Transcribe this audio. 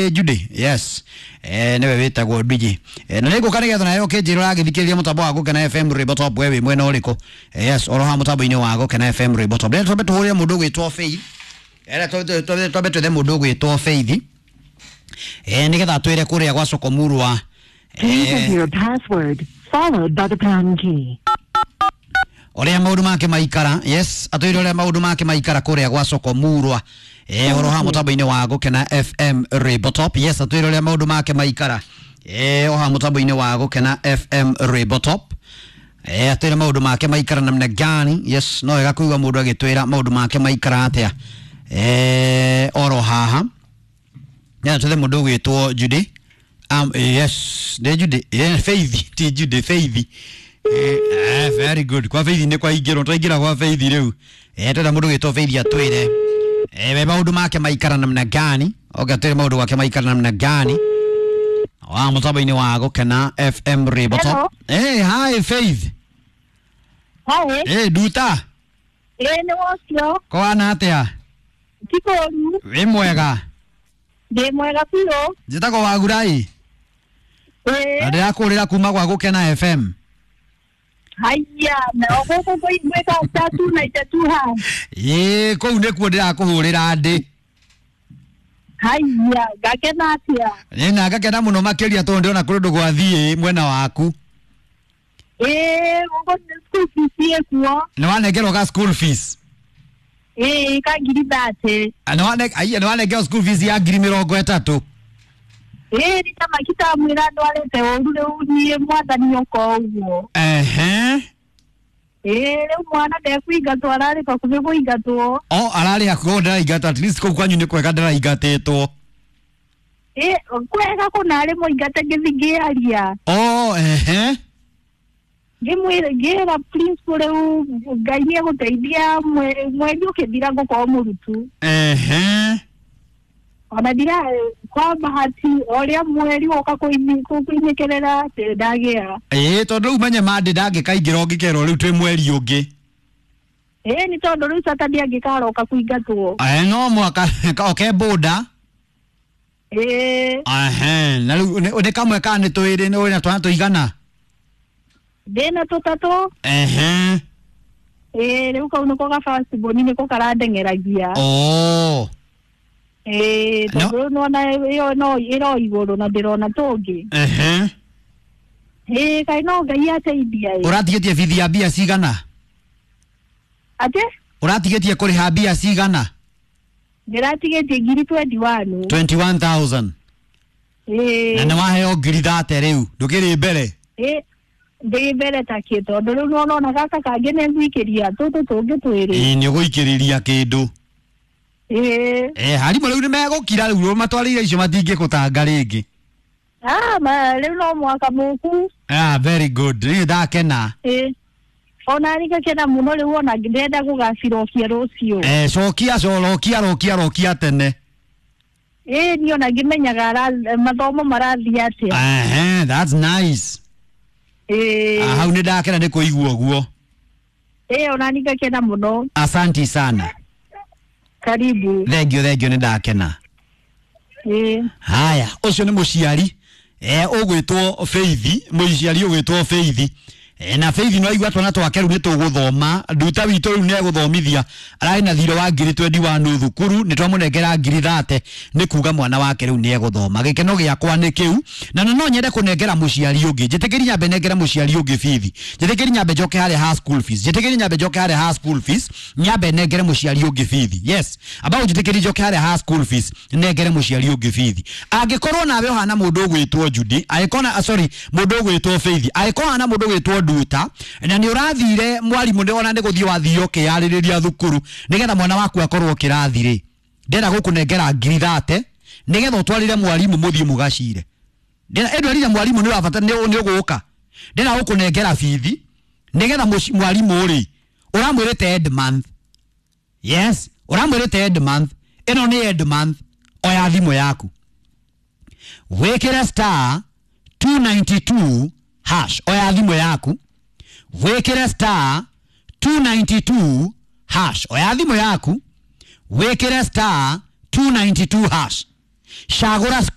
Judy, yes, niwe witagwo Ndwiji. Na nĩngũka nĩgetha nayo ũkĩnjĩra ũragĩthikĩrĩria mũtambo wa Gũkena FM Rwĩmbo Top we wĩ mwena ũrĩkũ. Yes, oro haha mũtambo-inĩ wa Gũkena FM Rwĩmbo Top. Rĩrĩa twambe tũhũrĩre mũndũ ũgwĩtwo Faith. Rĩrĩa twambe twethe mũndũ ũgwĩtwo Faith. Nĩgetha atwĩre kũrĩa gwa Sokomurwa. Please enter your password followed by the pound key. Ũrĩa maũndũ make maikara. Yes, atwĩre ũrĩa maũndũ make maikara kũrĩa gwa Sokomurwa. Oro haha mũtambo-inĩ wa Gũkena FM Rwĩmbo Top. Yes, atwĩre ũrĩa maũndũ make maikara. O haha mũtambo-inĩ wa Gũkena FM Rwĩmbo Top. Atwĩre maũndũ make maikara namna gani. Yes, no wega kũigua mũndũ agĩtwĩra maũndũ make maikara atĩa. Oro haha. Ya twethe mũndũ ũgwĩtwo Judy. Yes, nĩ Judy. Faith, ti Judy, Faith. Very good. Kwa Faith nĩ kwa ingĩrwo, twaingĩra kwa Faith rĩu. Twetha mũndũ ũgwĩtwo Faith atwĩre. We maũndũ make maikara namna gani? Okay, atwĩre maũndũ make maikara namna gani? Wa mũtambo-inĩ wa Gũkena FM Rwĩmbo Top. Hi Faith. Hi. Nduta. Nĩ wocio. Kwana atĩa? Ti kũũru. Wĩ mwega? Ndĩ mwega biũ. Njĩtagwo Wagurai. Na ndĩrakũrĩra kuma gwa Gũkena FM. Haiya, na gũkũ gwĩka tatu na itatu ha. Ĩĩ, kũu nĩkuo ndĩrakũhũrĩra ndĩ. Haiya, ngakena atĩa? Ĩ, na ngakena mũno makĩria tondũ ndĩrona kũrĩ ũndũ gwathiĩ mwena waku. Ĩĩ, gũkũ school fees ĩkuo. Nĩ wanengerwo ka school fees? Ĩĩ, ka 30,000. Aiya, nĩ wanengerwo school fees ya 30,000? Ĩĩ, rita makitamwĩra ndwarĩte ũru rĩu niĩ mwathani oka ũguo. Ehe. Ĩĩ, rĩu mwana ndekũingatwo, ararĩ hakuhĩ kũingatwo. O, ararĩ hakuhĩ ndaraingatwo, at least kũu kwanyu nĩ kwega ndaraingatĩtwo. Ĩĩ, kwega kũna arĩ mũingate ngĩthiĩ ngĩaria. O, ehe. Ngĩmwĩra ngĩra principal rĩu Ngai nĩ egũteithia mweri ũkĩthira ngũkorwo mũrutu. Ehe. Ona ndira kwa bahati ũrĩa mweri woka kũinĩkĩrĩra ndĩ ndagĩa. Ĩĩ, tondũ rĩu menye mandĩ ndangĩkaingĩra ũngĩkerwo rĩu twĩ mweri ũngĩ. Ĩĩ, nĩ tondũ rĩu Saturday angĩkaroka kũingatwo. No mwaka oke boda. Ĩĩ. Ehe, na rĩu nĩ kamwe ka nĩ twĩrĩ, nĩ wĩna twana tũigana? Ndĩna tũtatũ. Ehe. Ĩĩ, rĩu kau nĩko ga first born nĩko karandeng'eragia. Oh. Ĩĩ, tondũ rĩu nĩwona ĩyo no ĩro igũrũ na ndĩrona tũngĩ. Ehe. Ĩĩ, kaĩ no Ngai ateithia ĩ. Ũratigĩtie bithi ya mbia cigana? Atĩ? Ũratigĩtie kũrĩha mbia cigana? Ndĩratigĩtie 21,000. 21,000. Ĩĩ. Na nĩ waheo 30,000 rĩu, ndũkĩrĩ mbere? Ĩĩ, ndĩ mbere ta kĩ tondũ rĩu nĩwona gaka kangĩ nĩ ngũikĩria tũtũ tũngĩ twĩrĩ. Ĩĩ, nĩ ũgũikĩrĩria kĩndũ. Ĩĩ. Arimũ rĩu nĩ megũkira rĩu matwarĩire icio matingĩgũtanga rĩngĩ. Ah, ma rĩu no mwaka mũku. Ah, very good. Niĩ ndakena. Ĩĩ. Ona niĩ ngakena mũno rĩu ona ndĩrenda gũgacirokia rũciũ. Cokia, rokia, rokia, rokia tene. Ĩĩ, niĩ ona ngĩmenyaga mathomo marathiĩ atĩa. Ehe, that's nice. Ĩĩ. Hau nĩ ndakena nĩ kũigua ũguo. Ĩĩ, ona niĩ ngakena mũno. Asanti sana. Karibu. Thank you, thank you, nĩ ndakena. Ĩĩ. Haya, ũcio nĩ mũciari ũgwĩtwo Faith, mũciari ũgwĩtwo Faith. Na Faith no aigua twana twake rĩu nĩ tũgũthoma, nduta witũ rĩu nĩ egũthomithia, ararĩ na thirĩ wa 21,000 thukuru, nĩ twamũnengera 30,000 nĩ kuga mwana wake rĩu nĩ egũthoma. Gĩkeno gĩakwa nĩ kĩu, na no nyende kũnengera mũciari ũngĩ. Njĩtĩkĩri nyambe nengere mũciari ũngĩ bithi. Njĩtĩkĩri nyambe njoke harĩa ha school fees. Njĩtĩkĩri nyambe njoke harĩa ha school fees, nyambe nengere mũciari ũngĩ bithi. Yes, ambao njĩtĩkĩri njoke harĩa ha school fees, nengere mũciari ũngĩ bithi. Angĩkorwo nawe ũhana mũndũ ũgwĩtwo Judy, angĩkorwo sorry, mũndũ ũgwĩtwo Faith, angĩkorwo ũhana mũndũ ũgwĩtwo Nduta, na nĩ ũrathire mwarimũ nĩ ona nĩ gũthiĩ wathiĩ ũkĩyarĩrĩria thukuru nĩgetha mwana waku akorwo kĩrathi rĩ, ndĩrenda gũkũnengera 30,000 nĩgetha ũtwarĩre mwarimũ mũthiĩ mũgacire. Ndĩrenda mwarimũ nĩ ũrabata nĩ ũgũka, ndĩrenda gũkũnengera bithi nĩgetha mwarimũ rĩ ũramwĩrĩte end month. Yes, ũramwĩrĩte end month, ĩno nĩ end month, oya thimũ yaku wĩkĩre star 292 hash, oya thimũ yaku wĩkĩre star 292 hash, oya thimũ yaku wĩkĩre star 292 hash. Cagũra.